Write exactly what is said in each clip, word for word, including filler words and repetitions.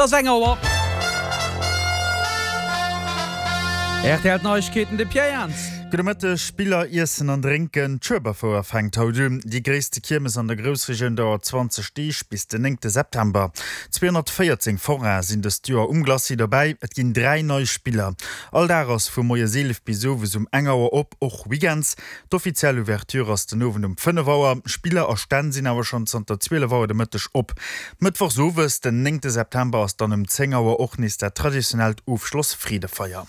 Et ass eng Auer. Rtl Neiegkeeten, de Pierre Jans. Gudde Mëtteg, Spiller, Iessen an Drénken, D'Schueberfouer fänkt haut un. Déi gréisste Kiermes an der Groussregioun dauert zwanzeg Deeg bis den néngte September. Zweehonnertvéierzéng Forainen sinn dëst Joer um Glacis dobäi. Et ginn dräi nei Spiller. All Dag ass vu moies eelef bis owes um eng Auer op, och Weekends. D'offiziell Ouverture ass den Owend um fënnef Auer. Spiller a Stänn sinn awer schonn zanter zwielef Auer de Mëtteg op. Mëttwochs owes, den néngte September, ass dann um zéng Auer och nees dat traditionellt Ofschloss-Freedefeier.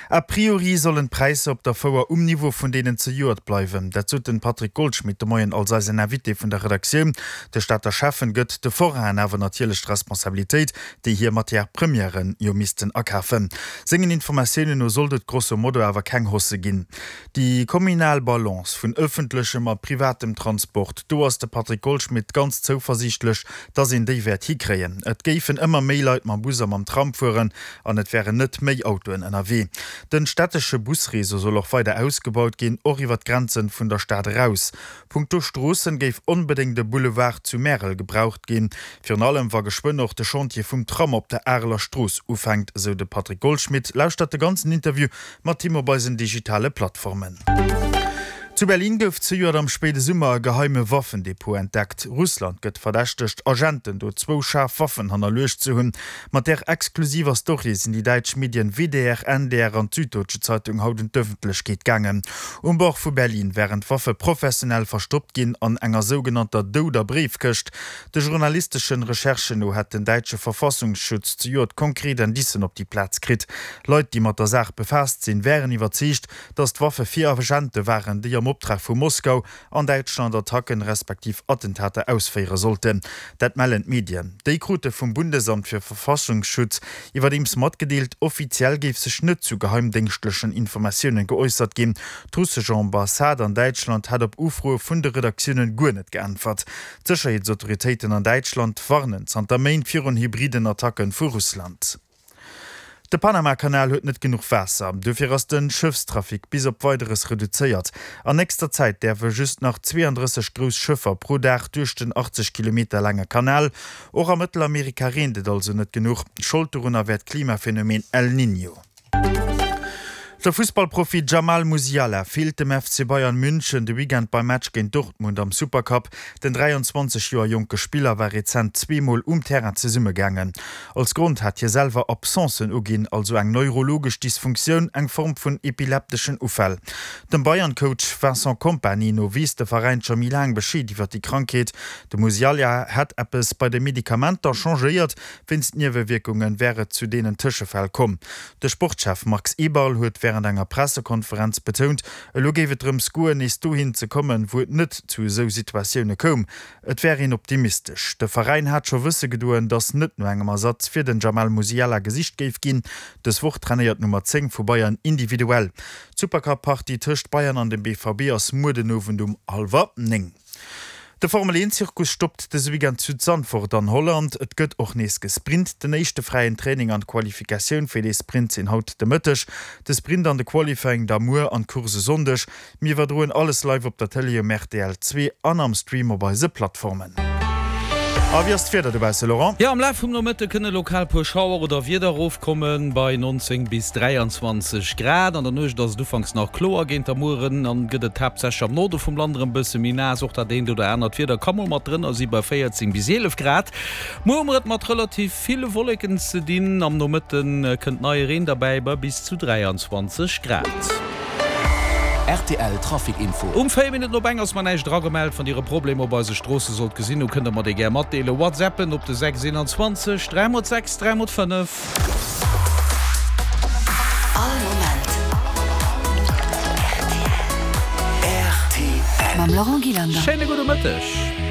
A priori sollen d'Präisser op der Fouer um Niveau vun deenen zejoert bleiwen. Dat sot den Patrick Goldschmidt de Moien als eisen Invité vun der Redaktioun. De Stater Schäffen gëtt de Forainen awer natierlech d'Responsabilitéit, déi hir Matières premièren jo missten akafen. Sengen Informatiounen no sollt et grosso modo awer keng Hausse ginn. Déi communal Balance vun ëffentlechem a privatem Transport, do ass de Patrick Goldschmidt ganz zouversiichtlech, dass een déi wäert hikréien. Et géifen ëmmer méi Leit mam Bus a mam Tram fueren an et wären net méi Autoen ënnerwee. Den stättesche Busreseau soll och weider ausgebaut ginn, och iwwer d'Grenzen vun der Stad eraus. Punkto Stroossen géif onbedéngt e Boulevard zu Märel gebraucht ginn, virun allem wa geschwënn och de Chantier vum Tram op der Areler Strooss ufänkt, esou de Patrick Goldschmidt. Lauschtert de ganzen Interview mat him op eisen digitale Plattformen. Zu Berlin gouf zejoert am spéide Summer e geheime Waffendepot entdeckt. Russland gëtt verdächtegt, Agenten do zwou schaarf Waffen hannerluecht ze hunn. Mat där exklusiver Story sinn déi däitsch Medien W D R, N D R an d'Süddeutsche Zeitung haut un d'Ëffentlechkeet gaangen. Um Bord vu Berlin wären d'Waffe professionell verstoppt ginn an enger sougenannter douder Bréifkëscht. De journalisteschen Recherchen no hätt den däitsche Verfassungsschutz zejoert konkret Indicen op déi Plaz kritt. Leit, déi mat der Saach befaasst sinn, wären iwwerzeegt, datt d'Waffe fir Agente waren, déi am Optrag vu Moskau an Däitschland Attacken respektiv Attentater ausféiere sollten. Dat mellen d'Medien. Déi krute vum Bundesamt für Verfassungsschutz iwwerdeems matgedeelt, offiziell géif sech net zu geheimdéngschtlechen Informatiounen geäussert ginn. D'russesch Ambassade an Däitschland hätt op Ufroe vun de Redaktiounen guer net geäntwert. D'Sécherheetsautoritéiten an Däitschland warnen zanter Méint virun hybriden Attacken vu Russland. De Panamakanal huet net genuch Waasser, dofir ass de Schëffstrafic bis op Weideres reduzéiert. An nächster Zäit däerfe just nach zweeandrësseg grouss Schëffer pro Dag duerch den achtzeg Kilometer laange Kanal. Och a Mëttelamerika reent et also net genuch. Schold dorunner wär d'Klimaphenomen El Niño. De Fussballprofi Jamal Musiala feelt dem F C Bayern München de Weekend beim Match géint Dortmund am Supercup. Den dräianzwanzeg Joer jonke Spiller war rezent zweemol um Terrain zesummegaangen. Als Grond hat hie selwer Absencen uginn, also eng neurologesch Dysfunktioun, eng Form vun epilepteschen Ufäll. Dem Bayern-Coach Vincent Kompany no weess de Veräin scho méi laang Bescheed iwwer déi Krankheet. De Musiala hätt eppes bei de Medikamenter changéiert, wéinst Niewewierkunge wär et zu deenen Tëschefäll komm. De Sportschef Max Eberl huet wärend enger Pressekonferenz betount, elo géif et drëms goen, nees dohin ze kommen, wou et net zu esou Situatioune koum. Et wär een optimistesch. De Veräin hat scho wësse gedoen, datt net no engem Ersatz fir den Jamal Musiala gesicht géif ginn. Dës Woch trainéiert d'Nummer zéng vu Bayern individuell. D'Supercup-Partie tëscht Bayern an dem B V B ass muer den Owend um hallwer néng. De Formel-Eent-Zirkus stoppt dëse Weekend zu Zandvoort an Holland. Et gëtt och nees gesprint. Den éischte fräien Training an d'Qualifikatioun fir dee Sprint sinn haut de Mëtteg. De Sprint an de Qualifying da muer an d'Course e Sonndeg. Mir iwwerdroen alles live op der Tëlee um R T L zwee an am Stream op eise Plattformen. A wéi ass d'Wieder dobausse, Laurent? Jo, am Laf vum Nomëtte kënne lokal puer Schauer oder Wieder erofkommen, bei neunzéng bis dräianzwanzeg Grad. An der Nuecht ass et ufanks nach kloer, géint der Mueren an gëtt et haaptsächlech am Norde vum Land erëm bësse méi naass. Och dat eent oder anert Wieder ka mol mat drënner si bei véierzéng bis eelef Grad. Muer hu mer et mat relativ ville Wolleken ze dinn, am Nomëtte kënnt neie Reen derbäi bei bis zu dräianzwanzeg Grad. R T L Trafic Info. Um véier Minutten op eng ass mer näischt eragemellt. Wann Dir e Problem op eise Stroosse sollt gesinn hu, kënnt Der mer dee gär matdeelen. Whatsappen op de sechs eenanzwanzeg dräi mol sechs dräi mol fënnef. All Moment R T L. Mam Laurent Gillander. Schéine gudde Mëtteg.